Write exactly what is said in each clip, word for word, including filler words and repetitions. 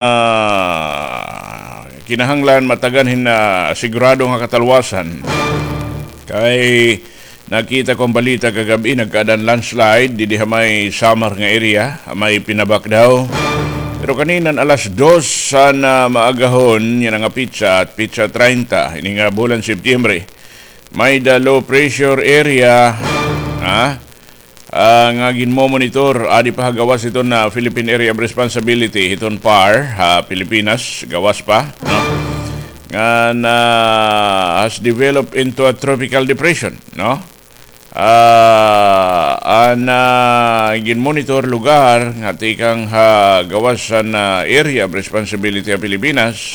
ah, kinahanglan matagan hin, ah, sigurado nga katalwasan. Kay nakita ko an balita kagab-i, nagkaadan landslide didi ha may Samar nga area, ha may Pinabak daw. Pero kanin-an alas dos han, ah, maagahon yana nga petsa, petsa treinta ini nga bulan Setyembre, may-da low pressure area, ha? Ah, nga ginmomonitor, adi pa ha gawas hiton, ah, Philippine Area of Responsibility, hiton PAR, ha Pilipinas, gawas pa, no? Nga na has developed into a tropical depression, no? Ah, an, ah, ginmonitor lugar nga tikang ha gawas han, ah, Area of Responsibility ha Pilipinas,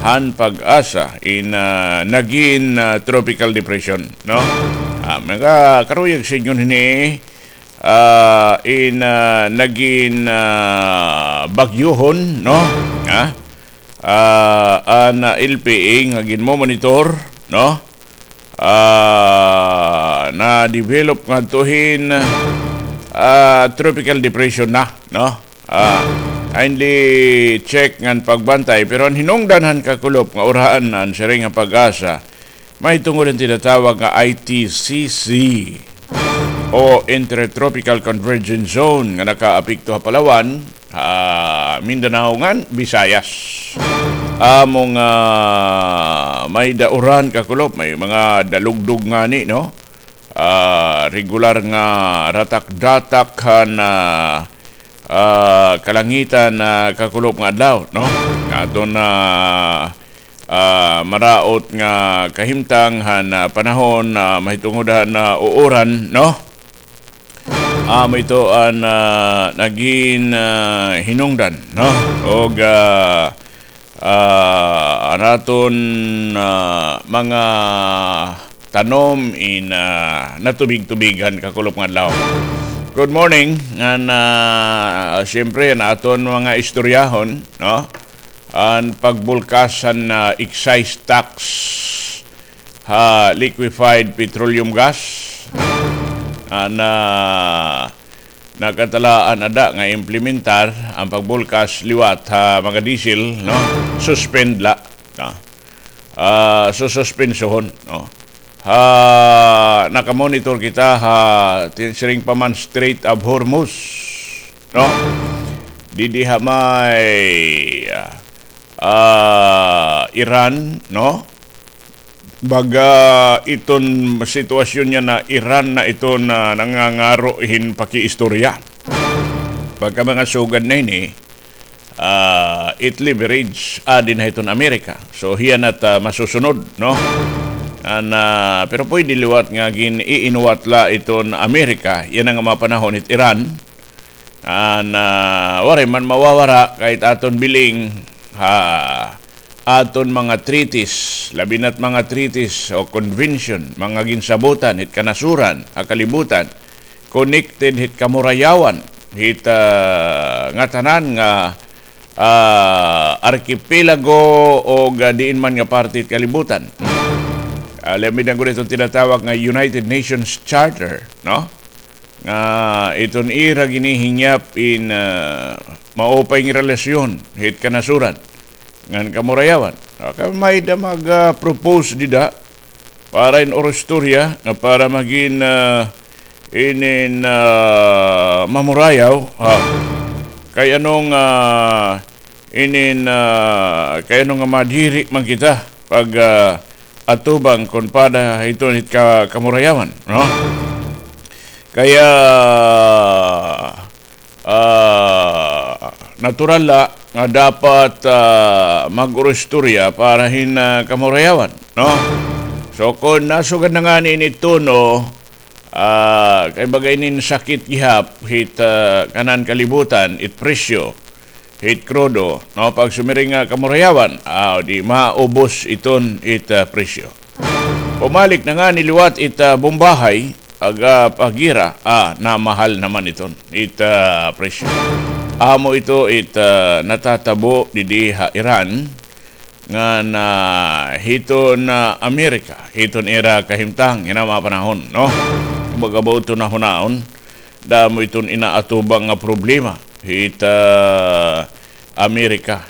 han PAGASA, in, ah, nagin, ah, tropical depression, no? Ah, mga karuyag sa inyo hini, ah, in, ah, nagin, ah, bagyohon, no? Ah, ah, an, ah, L P A nga ginmomonitor, no? Ah, na-develop ngadto hin, ah, tropical depression na, no? Ah, kindly check ngan pagbantay, pero an hinungdan han kakulop nga urahan an siring nga PAGASA, mahitungod han tinatawag nga I T C C o Intertropical Convergence Zone nga nakaapekto ha Palawan, ha Mindanao ngan Visayas. Amo nga may-da uran kakulop, may mga dalugdog ngani, no? Ah, regular nga ratak-datak han, ah, ah, kalangitan, ah, kakulop nga adlaw, no? Nga aton, ah, ah, maraot nga kahimtang han, ah, panahon, ah, mahitungod han, ah, uuran, no? Amo ito an, ah, nagin, ah, hinungdan, no? Og, ah, ah, an aton, ah, mga tanom in, ah, natubig-tubigan kakulop nga adlaw. Good morning. Ngan, ah, siyempre, an aton mga istoryahon, no? An pagbulkas han, ah, excise tax ha liquefied petroleum gas. An, ah, nakatalaan ada nga implementar an pagbulkas liwat ha mga diesel, no? Suspend la, no? Ah, sususpensohon, no? Ha, nakamonitor kita ha, tin-, siring pa man, Strait of Hormuz, no? Didi ha may, ah, ah, Iran, no? Baga iton sitwasyon niya na Iran na iton nangangaro hin pakiistorya. Pagka mga sugad na ini, ah, it leverage, ah, adi na hiton Amerika. So, hiya na it, ah, masusunod, no? An, ah, pero pwede liwat nga gin-iinuwat la iton Amerika, yana nga mga panahon it Iran. An, ah, waray man mawawara kay it aton biling ha aton mga treaties, labi na it mga treaties o convention, mga ginsabutan hit kanasuran ha kalibutan, connected hit kamurayawan, hit, ah, ngatanan nga, ah, arkipelago o ga diin man nga parte hit kalibutan. Ah, labi na gud iton tinatawag nga United Nations Charter, no? Nga iton ira ginihingyap in, ah, maupay nga relasyon hit kanasuran ngan kamurayawan. Ah, kay may-da mag, ah, propose dida para in orostorya nga para magin, ah, inin, ah, mamurayaw, ah, kay ano nga, ah, inin, ah, kay ano nga madiri man kita pag, ah, atubang kon pada hiton hit ka-, kamurayawan, no? Kaya, ah, natural la nga dapat, ah, mag-orostorya para hin, ah, kamurayawan, no? So, kon nasugad na ngani ini tono, ah, kay baga inin sakit gihap hit, ah, kanan kalibutan, it presyo hit krudo, no? Pag sumiring nga kamurayawan, ah, di maubos iton it, ah, presyo. Pumalik na ngani liwat it, ah, bombahay, aga pagira, ah, namahal naman iton it, ah, presyo. Amo ito it, ah, natatabo didi ha Iran, ngan hiton Amerika, hiton ira kahimtang yana mga panahon, no? Kumbaga, ba iton nahunaon, damo iton inaatubang nga problema hit, ah, Amerika.